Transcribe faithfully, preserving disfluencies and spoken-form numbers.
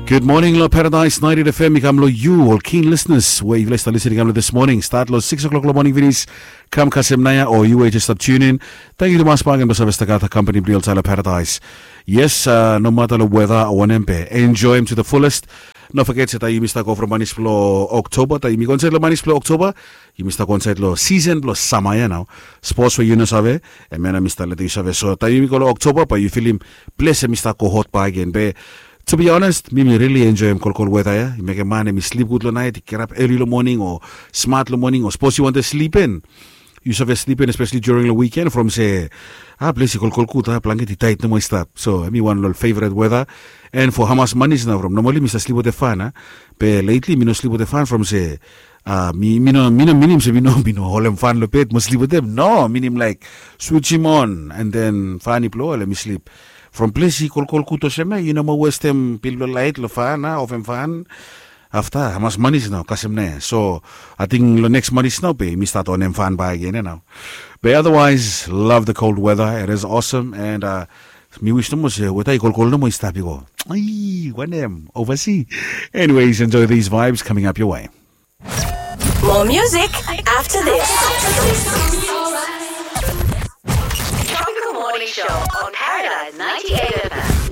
Gud moning long Paradise ninety-eight F M i kam long yu ol keen listeners we yufala i stap listening kam long this morning. Start long six o'clock long moning finis. Kam kasem naoia o yu we just stap tune in. Tangkiu tumas bakegen blong save stap gat kampani blong yu olsait long Paradise. Yes, uh, no mata long weda o wanem be enjoy em to the fullest. No forget se taem yumi stap go from manis blong Oktoba, taem yumi go insait long manis blong Oktoba, yumi stap go insait long season blong sama ia nao. Sports we yu no save, em ia nao mi stap letem yu save. So taem yumi go long Oktoba bae yu filim ples em i stap go hot bakegen be. To be honest, mi mi really enjoy em kolkol weda ia. I mekem man em i slip gud long naet, i get up early long moning o smart long moning o sapos yu wantem slip in, yu save slip in, especially during long weekend from se a ples i kolkol gud, a blanket i taet nomo i stap. So em i wan long favorite weda. And for hamas manis nao from normally mi stap slip wetem fan a, be lately mi no slip wetem fan from se a mi mi no mi no minim se mi no mi no holem fan long bed mo slip wetem. No, minim laik switch him on and then fan i blo, lem mi slip. From ples i kolkol gud olsem ia, yu no mo westem bil blong laet long fan a, ofem fan. Afta hamas manis nao kasem naoia. So ating long neks manis nao be mi stat onem fan bakegen ia nao. Be otherwise, love the cold weather, it is awesome. And uh, mi wis nomo se weda i kolkol nomo i stap i go. Ai, wanem, oversea. Anyways, enjoy these vibes coming up your way. More music after this. Tropical Morning Show on Paradise ninety-eight